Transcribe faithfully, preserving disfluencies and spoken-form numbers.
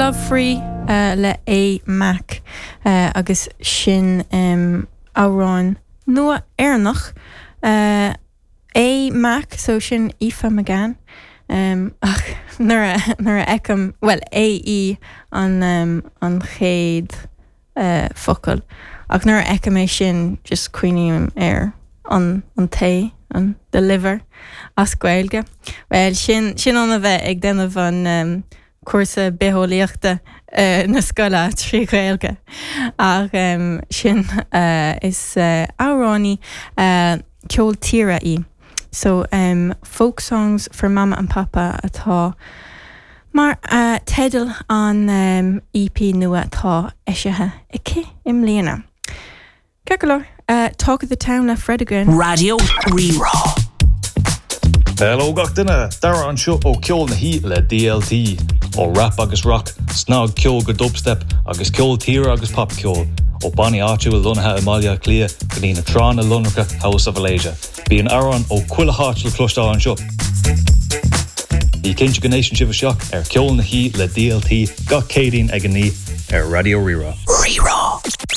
Love Free uh, le A Mac uh, agus sin um, amhrán nua Éireannach uh, A Mac so sin Aoife McGann um, ach nuair a nuair a fheicim well AE an um, an chéad uh, focal ach nuair a fheicim é sin just cuimhním ar an an tae an the liver as Gaeilge. Well sin sin an a bheith ag déanamh an um, cúrsa bitheolaíochta uh, na scoile trí Ghaeilge ach um, sin uh, is uh, amhránaí uh, ceol tíre í. So um, folk songs for Mama and Papa atá mar uh, teideal an um, EP nua atá eisithe aici i mbliana. Ceart go leor, uh, Talk of the Town le Fred again. Raidió Rí-Rá. Hello gach duine Dara anseo ó Ceol na hOíche le DLT ó rap agus rock, snagcheol go dubstep agus ceol tíre agus popcheol ó bannaí áitiúla lonnaithe i mBaile Átha Cliath go dtí na tránna lonracha thuas sa Mhalaeisia. Bíonn amhráin ó chuile áit le cloisteáil anseo. Bí cinnte go n-éisteann sibh isteach ar Ceol na hOíche le DLT gach Céadaoin ag a naoi ar Raidió Rí-Rá. Rí-Rá.